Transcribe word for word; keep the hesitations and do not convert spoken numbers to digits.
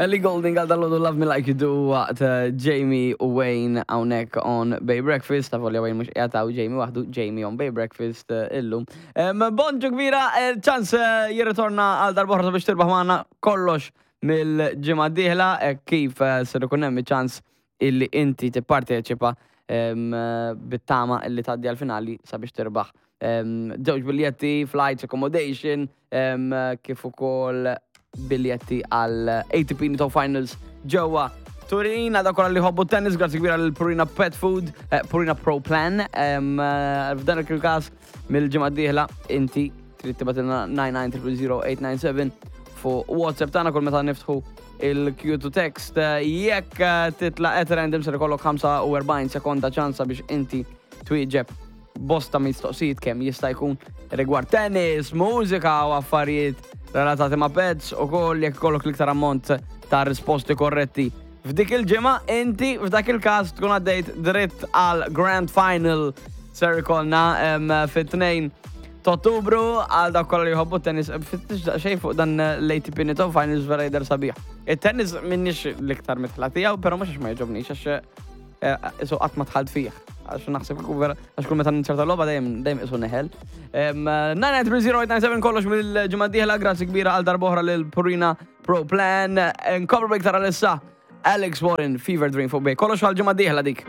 Ellie Goulding għal dal Love Me Like You Do waqt eh, Jamie u Wayne hawnhekk on Bay Breakfast. Ta' volja Wayne mhux qiegħed hawn, Jamie waħdu, Jamie on Bay Breakfast eh, illum. Em, Bonġu kbira, ċans jirritorna għal darb'oħra sabiex tirbaħ magħna kollox mill-ġimgħa d-dieħla eh, kif eh, ser ikun hemm ċans illi inti tipparteċipa em, eh, bit-tama illi tgħaddi għal-finali sabiex tirbaħ. Em, Żewġ biljetti, flights, accommodation, em, kif ukoll biljetti għal A T P Nitto Finals ġewwa Turin, għal dawk kollha li jħobbu tennis, grazzi kbira lil Purina Pet Food, eh, Purina Pro Plan. Em, eh, F'dan il-każ mill-ġimgħa d-dieħla inti trid tibgħatilna nine nine zero zero zero eight nine seven fuq WhatsApp tagħna kull meta niftħu il-Q to text. Eh, Jekk eh, titla' at random, ser ikollok ħamsa u erbgħin sekonda ċansa biex inti twieġeb bosta mistoqsijiet kemm jista' jkun rigward tennis, mużika u affarijiet relatati ma' pets u koll. Jekk ikollok l-iktar ammont ta' risposti korretti f'dik il-ġimgħa, inti f'dak il-każ tkun għaddejt dritt għal Grand Final ser ikollna em, fit-tnejn ta' Ottubru għal dak kollha li jħobbu tennis. Fittix xejn fuq dan l-A T P Nitto Finals, vera jidher sabiħ. Il-tennis m'iniex l-iktar midħla tiegħu, però mhux għax ma jogħġobnix, għax isu qatt ma dħalt fih. Għax naħseb kieku vera, għax kull meta ninserta logħba dejjem dejjem isu neħel. nine nine three zero eight nine seven kollox mill-ġimgħa d-dieħla, grazzi kbira għal darb'oħra lil Purina Pro Plan. Nkomplu iktar għalissa. Alex Warren, Fever Dream fuq Bay. Kollox għal ġimgħa d-dieħla dik.